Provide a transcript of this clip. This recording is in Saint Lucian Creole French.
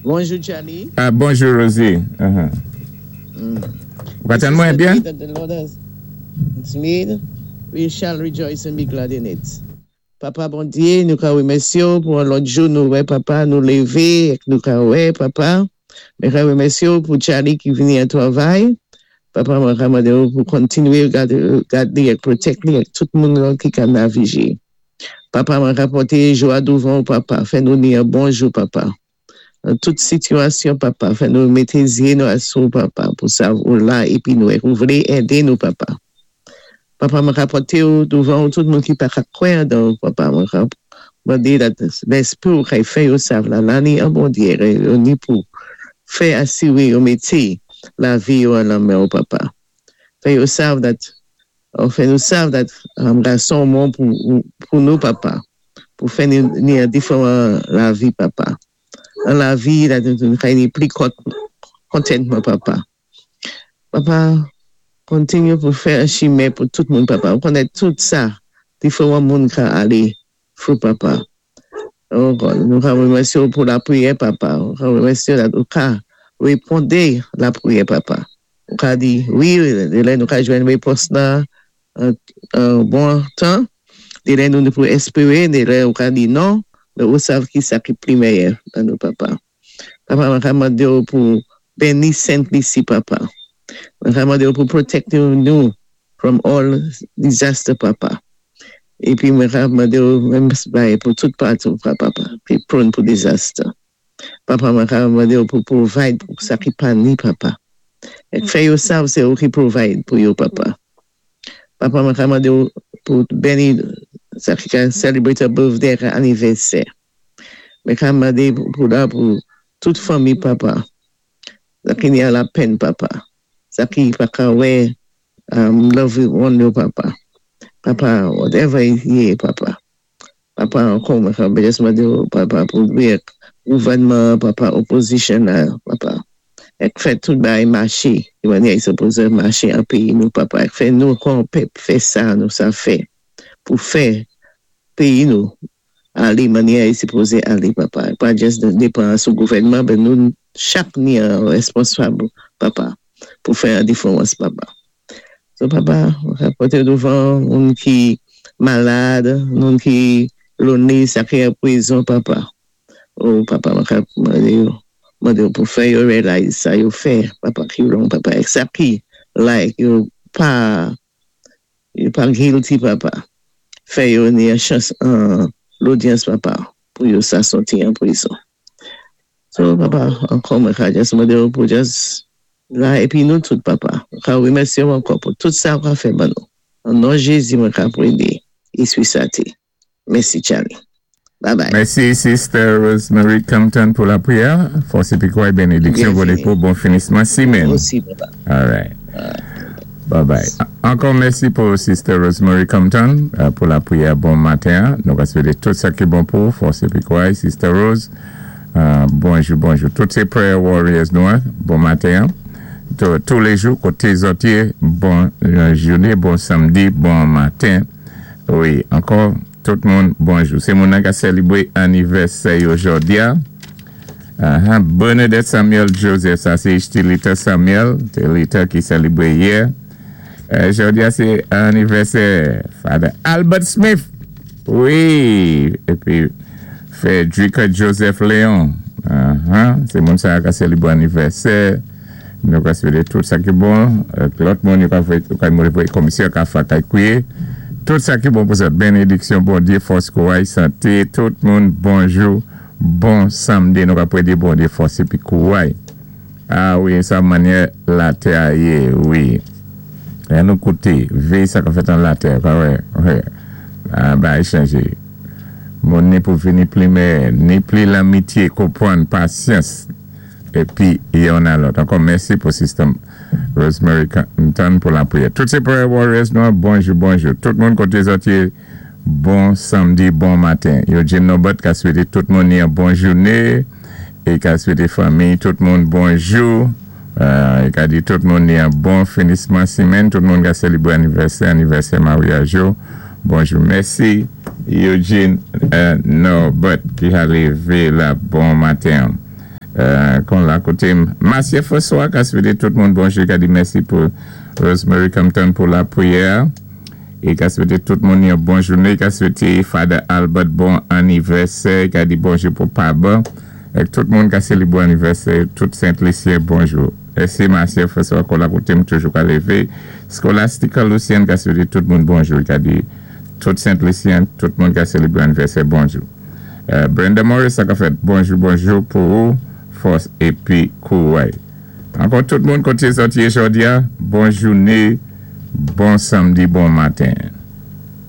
Bonjou, Charlie. Ah, bonjou, Rosie. Ou ka tann mwen This is the byen? Day that the Lord has made. We shall rejoice and be glad in it. Papa Bondyé, nou ka wémèsyé pou yon lòt jou nou wè, Papa, nou lévé, nou ka wè, Papa. Mwen ka wémèsyé pou Charlie ki vini an twavay. Papa, mwen ka mandé pou kontinwé gadé, gadé é protect li ak tout moun la ki ka navigé. Papa, mwen ka pòté jou a douvan, Papa. Fè nou ni yon bon jou, Papa. Nan tout sitiyasyon, Papa, fè nou mété zyé nou asou, Papa, pou sa ou la épi nou ou vlé édé nou, Papa. Papa, mwen ka pòté ou douvan tout moun ki pa ka kwè dan, Papa, mwen ka mandé Léspri ou ka fè yo sav la la ni an Bondyé, yo ni pou fè asiwé yo mété lavi yo an nan men ou, Papa. Fè yo sav that, oh, fè nou sav that gason bon pou nou, Papa, pou fè ni, ni yon diferan lavi, Papa. An lavi, la nou ka ni pli kontantman, Papa. Papa, kontinyé pou fè yon chimen pou tout moun, Papa. Ou konnen tout sa, diferan moun ka alé through, Papa. Oh God, nou ka wémèsyé pou lapriyè, Papa. Nou ka wémèsyé la, ou ka wépondé lapriyè, Papa. Ou ka di, wi, lè nou ka jwenn wépons nan an bon tan, dé lè nou pou espéré, dé lè ou ka di non, mé ou sav ki sa ki pli mèyè nan nou, Papa. Papa, mwen ka mandé ou pou béni Sent Lisi, Papa. Mwen ka mandé ou pou protect nou from all disaster, Papa. Épi mwen ka mandé ou menm bay pou tout patou, Papa, ki prone pou disaster. Papa, mwen ka mandé ou pou provide pou sa ki pa ni, Papa. É fè yo sav sé ou ki provide pou yo, Papa. Papa, mwen ka mandé ou pou béni sa ki ka celebrate a birthday ak anivèsè. Mwen ka mandé pou la pou tout fanmi, Papa. Sa ki ni a lapenn, Papa. Sa ki pa ka wè loved one yo, Papa. Papa, whatever it yé, Papa. Papa, ankò mwen ka just mandé ou, Papa, pou wè gouvènman, Papa, opposition la, Papa. Ek fè tout bagay maché, di mannyè i sipozé maché an péyi nou, Papa. Ek fè nou kon pèp fè sa nou sa fè pou fè péyi nou alé mannyè i sipozé alé, Papa. Pa just dépann sou gouvènman, mé nou chak ni an wésponsab, Papa, pou fè yon diféwans, Papa. So, Papa, pòté douvan moun ki malad, moun ki lonely, sa ki an pwizon, Papa. Oh, Papa, mwen ka mandé yo, mandé yo pou fè yo realize sa yo fè, Papa, ki wrong, Papa. Except ki, like, yo pa guilty, Papa. Fè yo ni yon chans an lodyans, Papa, pou yo sa sòti an pwizon. So, Papa, ankò mwen ka just mandé yo pou just la épi nou tout, Papa. Mwen ka wémèsyé ou ankò pou tout sa ou ka fè ban nou. An non Jézi mwen ka pwédé Éspri Senti. Mèsi, Charlie. Bye bye. Mèsi, Sister Rosemary Compton, pou lapriyè. Fòs épi kouray, bénédiksyon Byenvini. Pou bon finisman simenn. Osi, Papa. All right. Bye bye. Ankò mèsi pou Sister Rosemary Compton pou lapriyè bon maten. Nou va swété tout sa ki bon pou fòs épi kouray, Sister Rose. Bonjou, bonjou. Tout sé prayer warriors nou, en. Bon maten. Tous les jours, koté zòt yé, bon jouné, bon samdi, bon maten. Wi, ankò, tout moun, bonjou. Sé moun ki sélébwé anivèsè jòdi a. Bernadette Samuel Joseph, sa sé Lita Samuel, sé Lita ki sélébwé yè. Jòdi a sé anivèsè Father Albert Smith. Wi, épi Frederica Joseph Léon. Sé moun sa ki sélébwé anivèsè. Nou ka swété tout sa ki bon. Lòt moun, yo ka fè, yo ka voyé komisè ka fè kay kwiyé. Tout sa ki bon pou sa. Bénédiksyon, Bondyé, fòs, kouray, santé. Tout moun, bonjou, bon samdi. Nou ka pwédé Bondyé, fòs épi kouray. Ah wi, sa mannyè latè a yé, wi. Lè nou kouté, véyé sa ka fèt an latè, pa wè, wè. Ah, bagay chanjé. Moun ni pou vini pli mèyè, ni pli lanmityé, konpwann, pasyans, épi youn a lòt. Ankò mèsi pou Sister Rosemary Compton pou lapriyè. Tout sé prayer warriors nou, bonjou, bonjou. Tout moun koté zòt yé, bon samdi, bon maten. Eugene Norbert ka swété tout moun yon bon jouné é ka swété fanmi tout moun bonjou. É ka di tout moun yon bon finisman simenn. Tout moun ka sélébwé anivèsè, anivèsè maryaj yo. Bonjou, mèsi Eugene Norbert ki a lévé la bon maten. Kon la koté Masye François ka swété tout moun bonjou, ka di mèsi pou Rosemary Compton pou lapriyè é ka swété tout moun yon bon jouné, ka swété Father Albert bon anivèsè, ka di bonjou pou Paba ak tout moun ka sélébré anivèsè, tout Sent Lisyen bonjou. Mèsi Masye François kon la koté m toujou ka lévé. Scholastica Lucien ka swété tout moun bonjou, ka di tout Sent Lisyen, tout moun ka sélébré anivèsè bonjou. Brenda Morris sa ka fèt bonjou, bonjou pou ou, fòs épi kouray. Ankò tout moun koté sòti jòdi a, bon jouné, bon samdi, bon maten.